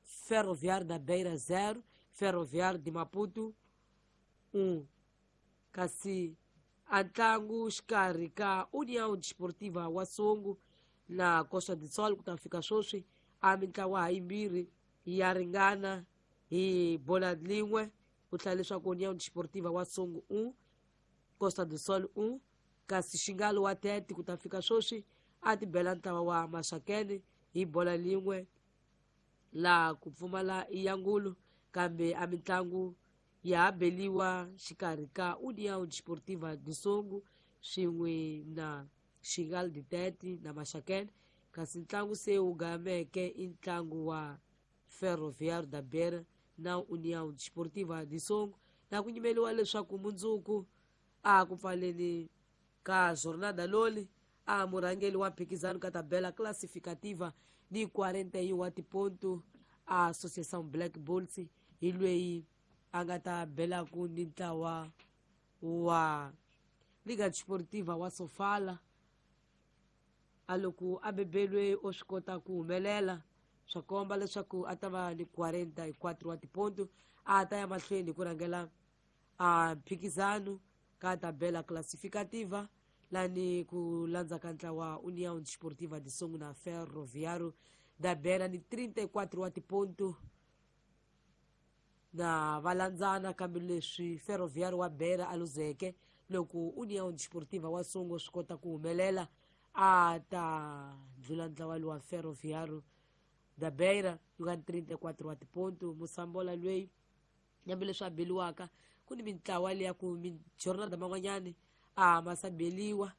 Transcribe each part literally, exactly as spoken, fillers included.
Ferroviário da Beira zero, Ferroviário de Maputo um. Kasi a ntlangu xikarhi ka União Desportiva wa Songo na Costa do Sol ku ta fika sweswi a mintlawa ha yimbirhi ya ringana hi bola lin'we, ku tlhela leswaku União Desportiva wa Songo um, Costa do Sol um. Kasi Xingalo wa Tete ku ta fika sweswi a ti bela ntlawa wa Maxakene hi bola lin'we laha ku pfumala yangulu, kambe a mitlangu ya ha beliwa xikarhi ka União Desportiva de Songo swin'we na Xingal de Tete na Maxakene. Kasi ntlangu se wu gameke i ntlangu wa Ferroviário da Beira na União Desportiva de Songo, na ku nyimeliwa leswaku mundzuku a ku pfaleni ka jornada loli a murhangeri wa mphikizano ka tabela classificativa ni quarenta e um wa tiponto a Associação Black Bulls hi lweyi a nga ta belaku ni ntlawa wa Liga Desportiva wa Sofala. A loko a bebelwe o swi kota ku humelela, swa komba leswaku a ta va ni quarenta e quatro wa tiponto, a ta ya mahlweni hi ku rhangela a mphikizano ka tabela classificativa lani ku landza ka ntlawa União Desportiva de Songo na Ferroviário da Beira ni trinta e quatro wa tiponto na valandzana, kambe leswi Ferroviário wa Beira a luzeke loko União Desportiva wa Songo swi kota ku humelela a ta ndlula ntlawa lowa Ferroviário da Beira wu nga ni trinta e quatro wa tiponto. Musambola lweyi nyambe leswi a beliwaka ku ni mintlawa leya ku mijornada man'wanyani a ma sa beliwa,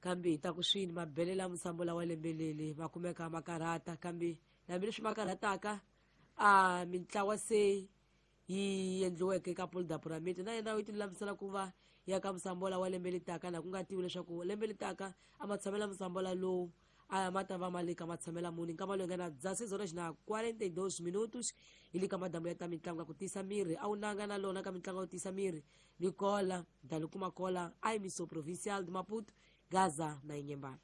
kambe hi ta ku swini mabelela musambola wa lembe leli ma kumeka ma karhata, kambe hambileswi ma karhataka a mintlawa se yi endliweke ka Polda Pyramid na yena yi tilulamisela ku va ya ka musambola wa lembe litaka, na ku nga tivi leswaku lembe litaka a ma tshamela musambola lowu a ma ta va ma le ka matshamela muni. Nkama loyi nga na dezesseis horas na quarenta e dois minutos hi le ka madamu ya ta mitlangu ya ku tiyisa miri a wu nanga na lona ka mitlangu ya ku tiyisa miri ni kola dali kuma kola a emiso provincial de Maputo, Gaza na Inhambane.